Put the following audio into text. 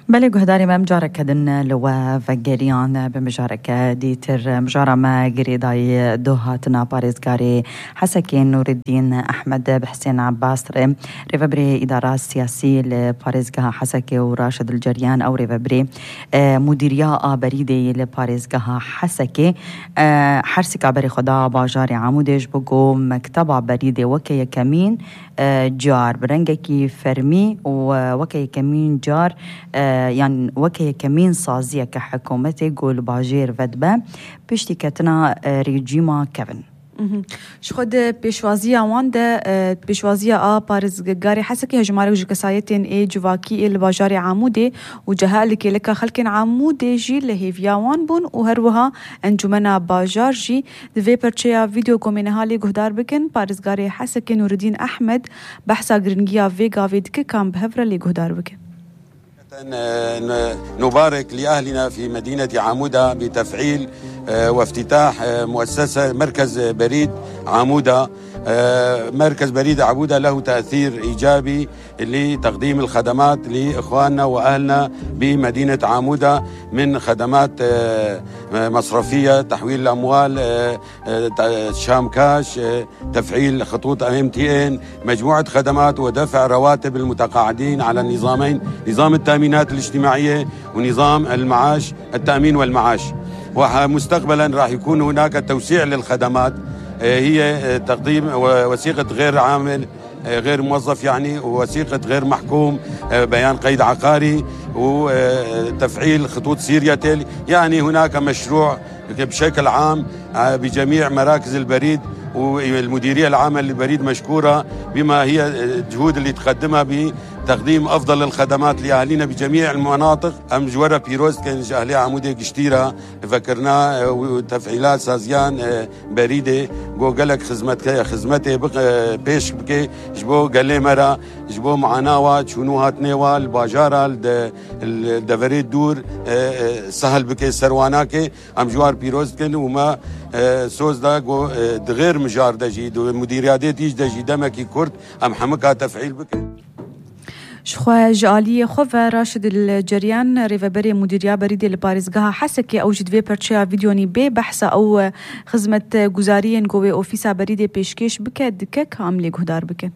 بله گهداری ما مجاره کدن لوا وگریان به مجاره دیتر مجاره ما گریدای دو هاتنا پارێزگاری حسكي نور الدين أحمد بحسين عباس ريفبري إدارات سياسية لباريزقها حسكي وراشد الجريان أو ريفبري مديرية بريدي لباريزقها حسكي حرسك عبري خدا باجاري عمودش بقو مكتبة بريدي وكي كمين جار برنجكي فرمي وكي كمين جار يعني وكي كمين صازية كحكومتي قول باجير فدبا بيشتي كتنا ريجيما كيفن شخود پیشوازی آوان ده پیشوازی پارێزگاری حسكي هجمارك جو كسايتين اي جواكي الباجار عمودي وجهاء لكي لك خلق عمودي جي لهيفياوان بون وهروها انجمنا باجار جي دفي برچيا فيديو كومينهالي گهدار بكن پارێزگاری حسكي نور الدين أحمد بحثا گرنگيا فيغا فيدك كان بهفرة لي گهدار بكن. نبارك لأهلنا في مدينة عمودة بتفعيل وافتتاح مؤسسة مركز بريد عمودة. مركز بريد عمودة له تأثير إيجابي لتقديم الخدمات لإخواننا وأهلنا بمدينة عمودة من خدمات مصرفية، تحويل الأموال، شام كاش، تفعيل خطوط MTN، مجموعة خدمات ودفع رواتب المتقاعدين على النظامين، نظام التأمينات الاجتماعية ونظام المعاش التأمين والمعاش. ومستقبلا راح يكون هناك توسيع للخدمات، هي تقديم وثيقة غير عامل غير موظف يعني، ووثيقة غير محكوم، بيان قيد عقاري، وتفعيل خطوط سيرياتيل. يعني هناك مشروع بشكل عام بجميع مراكز البريد، والمديرية العامة للبريد مشكورة بما هي الجهود اللي تقدمها بتقديم أفضل الخدمات لأهالينا بجميع المناطق. أم جورا بيروز كان أهلي عمودي قشتيرة فكرنا وتفعيلات سازيان بريدة جو قالك خدمتي بيش بكي جبو قالي مرة جبو معناوة شنو هاتنيوا الباجارة الدفريد دور سهل بكي سرواناكي أم جوار بيروز كان وما سوز دا جو دغير مجار دجي مديريات تيج دجي دمكي كرد أم حمكها تفعيل بكي. شخوا جالية خوفا راشد الجريان ريفبري مديرية بريدي لباريزقها حسكي أو جدوي برشا فيديوني بي بحثة أو خدمة جزاريين قوي أوفيسا بريدي بيشكيش بك دكك عملي قهدار بك.